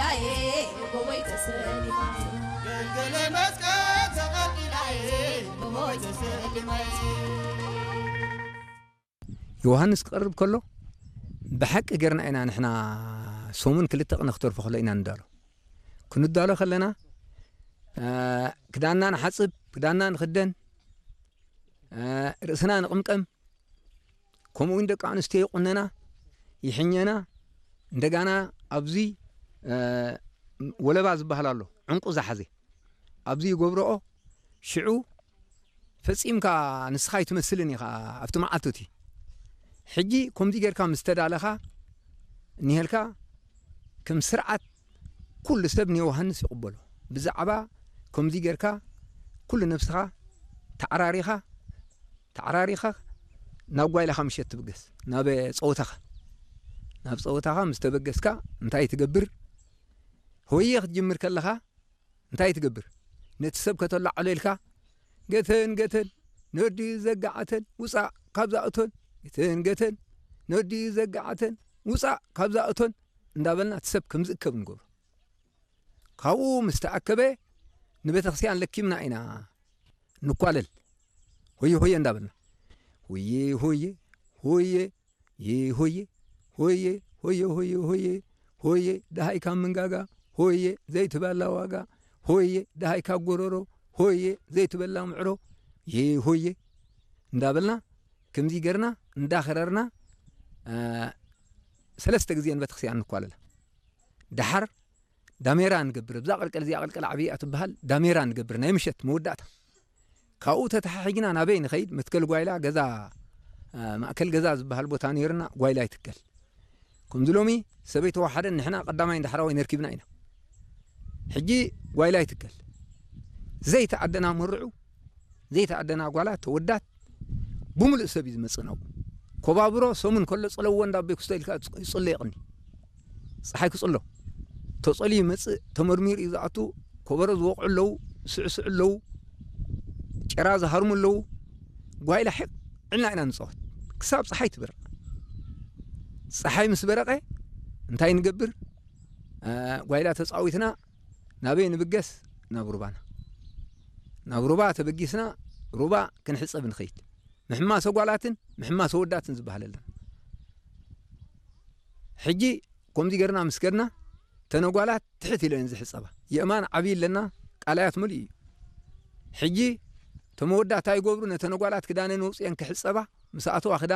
ጎቦይ ተሰሊማይ፣ ገልገለ መስቀል ተቐልቂላይ፣ ጎቦይ ተሰሊማይ። ዮሃንስ ክቐርብ ከሎ ብሓቂ ጌርና ኢና ንሕና ሰሙን ክልተ ቅነ ክተርፎ ከሎ ኢና ንዳሎ። ክንዳሎ ከለና፣ እ፣ ክዳንና ንሓጽብ፣ ክዳንና ንኽደን፣ እ፣ ርእስና ንቕምቀም፣ ከምኡ እውን ደቂ ኣንስትዮ ይቑነና፣ ይሕኘና። እንደጋና ኣብዚ፣ እ፣ ወለባ ዝበሃል ኣሎ፣ ዕንቁ ዝሓዘ ኣብዚ ይገብረኦ። ሽዑ ፈጺምካ ንስኻ ኣይትመስልን ኢኻ ኣብቲ መዓልቲ እቲ። ሕጂ ከምዚ ጌርካ ምስ ተዳለኻ እኒሄልካ፣ ከም ስርዓት ኩሉ ሰብ ንዮሃንስ ይቕበሎ። ብዛዕባ ከምዚ ጌርካ ኩሉ ነብስኻ ተዓራሪኻ፣ ተዓራሪኻ ናብ ጓይላኻ ምሸት ትብገስ፣ ናብ ጸወታኻ። ናብ ጸወታኻ ምስ ተበገስካ እንታይ ትገብር? ሆየ ክትጅምር ከለኻ እንታይ ትገብር? ነቲ ሰብ ከተላዕሎ ኢልካ፣ "ገተን፣ ገተን፣ ነዲ ዘጋዓተን፣ ውጻእ ካብዛ እቶን። ገተን፣ ገተን፣ ነዲ ዘጋዓተን፣ ውጻእ ካብዛ እቶን" እንዳበልና እቲ ሰብ ከም ዝእከብ ንገብሮ። ካብኡ ምስ ተኣከበ ንቤተክርስትያን ለኪምና ኢና ንኳለል። ሆየ ሆየ እንዳበልና፣ ሆየ ሆየ ሆየ፣ ይ ሆየ ሆየ ሆየ ሆየ ሆየ፣ ሆየ ደሃይ ካብ ምንጋጋ፣ ሆየ ዘይትበላ ዋጋ፣ ሆየ ደሃይ ካብ ጎረሮ፣ ሆየ ዘይትበላ ምዕሮ፣ ይ ሆየ እንዳበልና ከምዚ ገርና እንዳኸረርና፣ እ፣ ሰለስተ ግዜ ንቤተክርስትያን ንኳለላ። ደሓር ዳሜራ ንገብር። ኣብዛ ቀልቀል እዚኣ፣ ቀልቀል ዓብያ ትበሃል፣ ዳሜራ ንገብር፣ ናይ ምሸት መወዳእታ። ካብኡ ተተሓሒግና ናበይ ንኸይድ? መትከል ጓይላ ገዛ፣ እ፣ ማእከል ገዛ ዝበሃል ቦታ ነይርና፣ ጓይላ ይትከል። ከምዚ ሎሚ ሰበይ ተዋሓደን ንሕና ቀዳማይን ዳሕራዋይ ነርኪብና ኢና። ሕጂ ጓይላ ይትከል። ዘይተኣደና መርዑ፣ ዘይተኣደና ጓላት፣ ተወዳት፣ ብምሉእ ሰብ እዩ ዝመጽእ ናብኡ። ኮባብሮ ሰሙን ከሎ ጽለዎ እንዳ ኣቦይ ክስቶ ኢልካ ይጽሎ የቕኒ። ጸሓይ ክጽሎ። ተጸልዩ ይመጽእ፣ ተመርሚሩ እዩ ዝኣቱ። ኮበሮ ዝወቕዑ ኣለዉ፣ ስዕስዑ ኣለዉ፣ ጨራ ዝሃርሙ ኣለዉ። ጓይላ ሒቕ ዕልና ኢና ንጻወት። ክሳብ ጸሓይ ትበርቕ። ጸሓይ ምስ በረቐ እንታይ ንገብር? እ፣ ጓይላ ተጻዊትና ናበይ ንብገስ? ናብ ሩባና። ናብ ሩባ ተበጊስና ሩባ ክንሕጸብ ንኸይድ። ምሕማስ ኣጓላትን ምሕማስ ኣወዳትን ዝበሃል ኣለና። ሕጂ ከምዚ ገርና ምስ ከድና፣ ተነጓላት ትሕት ኢለን ዝሕጸባ። የእማን ዓብዪ ኣለና፣ ቃላያት ምሉእ እዩ። ሕጂ ተመወዳት እንታይ ይገብሩ? ነተነጓላት ክዳነን ኣውጽኤን ክሕጸባ፣ ምስ ኣተዋ ክዳነን